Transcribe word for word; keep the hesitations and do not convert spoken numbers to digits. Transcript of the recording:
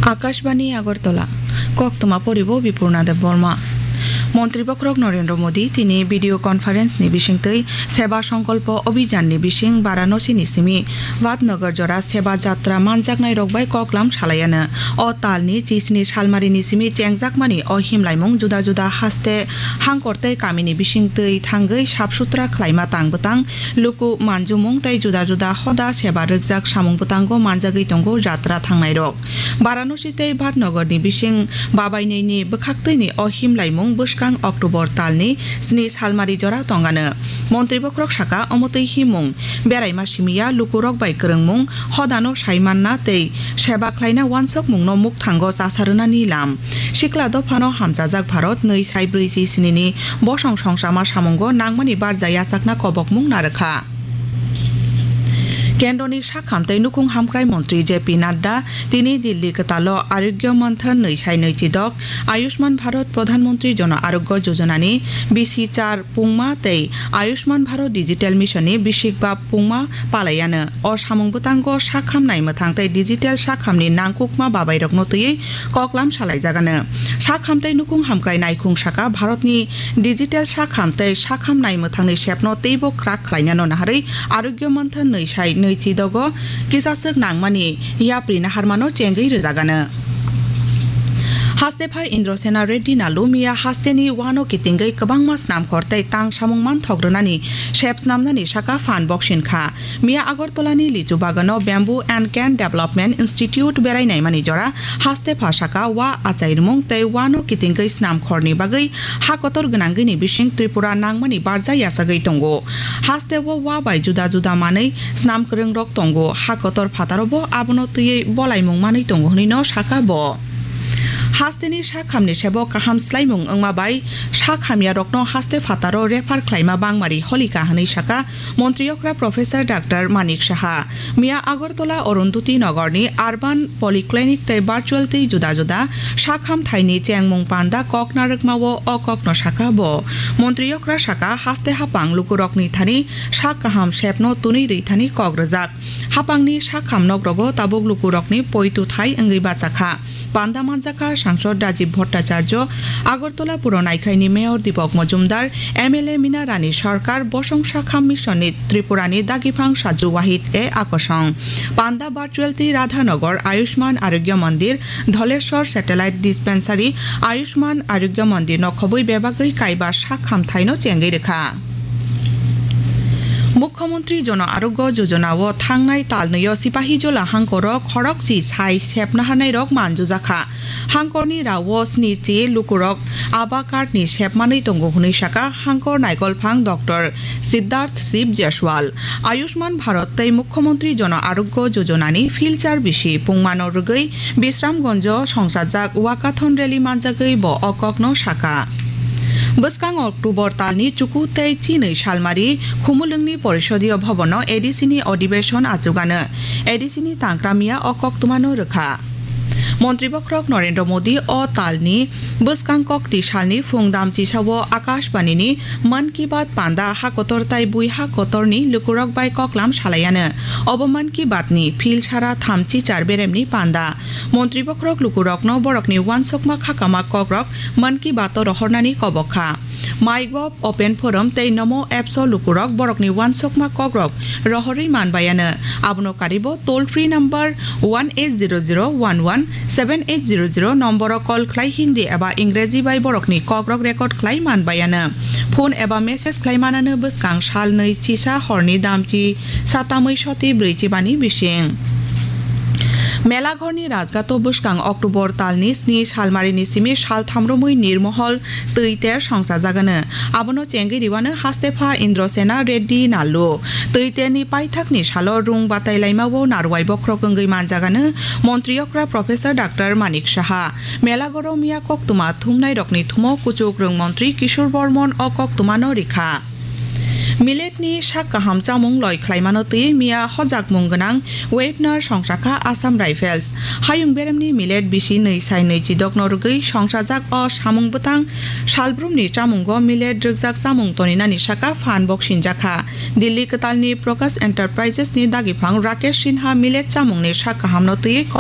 Akashbani Agartala, koktwma poribo Bipurna Debbarma. Montri Bokhorok Narendra Modi tini video conference ni bisingtwi Seba Sankalpa Abhijan ni bising Varanasi ni simi Vadnagar jora Seba Jatra manjaknai rok bai koklam salaiano. O tal ni chisni salmari ni simi chengjakmani o himlaimung juda juda haste hangkor tei kami ni bisingtwi thangwi sap sutra khlaima tang bwtang luku manjumung tei juda juda hoda seba rwkjak samung bwtango manjagwi tongo jatra thangnai rok. Varanasi tei Vadnagar ni bising babainwi ni bwkhaktwi ni o himlaimung bwskang October tal ni sni salmari jora tongano. Montri Bokhorok saka, omo twi himung beraima simiya lukurok bai kwrwngmung hodano sai manna tei seba khlaina wansokmungno mukthango chasa rwnani lam. Sikla dophano hamchajak Bharat nwi sai brwi chi sni ni bosong songsama samungo nangmani barja yachakna kobokmung narwkha. Kendroni sakham tei nukhung hamkrai montri J P Nadda tini Dilli kwtalo Arogya Manthan nwi sai nwi chidok, Ayushman Bharat Pradhan Mantri Jan Arogya Yojana ni bisi char pungma tei Ayushman Bharat Digital Mission ni bisikba pungma palaiano. O samung bwtango sakham nai mwthang tei digital sakhamni nangkukma babairokno twiwi koklam salaijagano. Sakham tei nukhung hamkrai naikhung saka, Bharatni digital sakham tei sakham nai mwthangni sepno teibo kwrak khlainano naharwi Arogya Manthan nwi sai nwi chidogo kisaswk nangmani yapri naharmano chengwi rwjagano. Hastepha Indrasena Reddy Nallu miya hasteni wano kitingwi kwbangma snamkhor tei tang samung manthok rwnani sep snamnani saka phan boksin kha. Miya Agartala ni lichu bagano Bamboo and Cane Development Institute berai naimani jora hastepha saka wa achairwmung tei wano kitingwi snamkhorni bagwi ha kotor gwnangwini bising Tripura nangmani barja yachagwi tongo. Hasteo wa bai juda juda manwi snam kwrwngrok tongo, ha kotor phataro bo abono twiwi bolaimung manwi tongo hwnwino saka bo. Hasteni sakhamni sebo kaham swlaimung wngma bai sakhamyarokno haste phataro refer khlaima bangmari holika hwnwi saka Montri okra Professor Doctor Manik Saha. Miya Agartala Arundhati Nagarni Urban Polyclinic tei virtual tei juda juda sakham thaini chengmung panda kok narwkmao o kokno saka bo. Montri okra saka, haste hapang lukurokni thani sak kaham sepno tunwi rwi thani kok rwjak. Hapangni sakham nokrogo tabuk lukurokni poitu thai wngwi bachakha. Panda manjakha Sangsod Rajiv Bhattacharya, Agartala Puro Naikhraini Mayor Deepak Majumdar, M L A Mina Rani Sarkar, Bosong Sakham Mission ni Tripura ni Dagiphang Saju Wahid e akosong. Panda virtual tei Radhanagar Ayushman Arogya Mandir, Dholeshwar Satellite Dispensary, Ayushman Arogya Mandir no khobwi bebagwi kaiba sakham thaino chengwi rwkha. Mukhyamantri Jan Arogya Yojana o thangnai talnwi o Sipahijola hangkoro khorokchi sai sepna hanairok manjujakha. Hangkorni rao sni chi lukurok aba card ni sepmanwi tongo hwnwi saka hangkor naikolphang Doctor Siddharth Shiv Jaiswal. Ayushman Bharat tei Mukhyamantri Jan Arogya Yojana ni philchar bisi pungmano rwgwi Bisramganjo songsajak Walkathon rally manjagwi bo o kokno saka. Bwskang October talni chuku tei chinwi salmari Khumulwngni Porisodiyo Bhabono A D C ni odibeshon achugano. A D C ni tangkra miya o koktwmano rwkha. Montri Bokhorok Narendra Modi o talni bwskang kokti salni phung damchisao Akashbani ni Mann Ki Baat panda ha kotor tai bui ha kotorni lukurok bai koklam salaiano. Obo Mann Ki Baat ni phil sara thamchi char beremni panda. Montri Bokhorok lukurokno borokni wansokma khakama kokrok Mann Ki Baat o rohornani kobok kha. MyGov, Open Forum tei Namo Apps o lukurok borokni wansokma kokrok rohorwi manbaiano. Abono karibo toll free number one eight zero zero one one seven eight zero zero nomboro call khlai Hindi eba Ingreji bai borokni kokrok record khlai manbaiano. Phone eba message khlai manano bwskang salnwi chisa horni damchi satamwi soti brwi chibani bising. Melaghorni Rajghato bwskang October talni sni salmarini simi saltham romwi nirmohol twi ter songsajagano. Abono chengwi riwano hastepha Indrasena Reddy Nallu. Twi terni paithakni salo rung batai laimao narwai bokhorok wngwi manjagano Montri okra Professor Doctor Manik Saha. Melaghoro miya koktwma thumnairokni thumo kuchuk rwng montri Kishore Bormon o koktwmano rikha. Millet ni sak kaham chamung loi khlaimano twi miya hojakmung gwnang Webinar songsakha Assam Rifles. Hayung beremni millet bisi nwi sai nwi chidokno rwgwi songsajak o samung bwtang salbrumni chamungo millet rwkjak chamung toninani saka phan boksinjakha. Delhi kwtalni Prakash Enterprises ni dagiphang Rakesh Sinha millet chamungni sak kahamno twiwi kok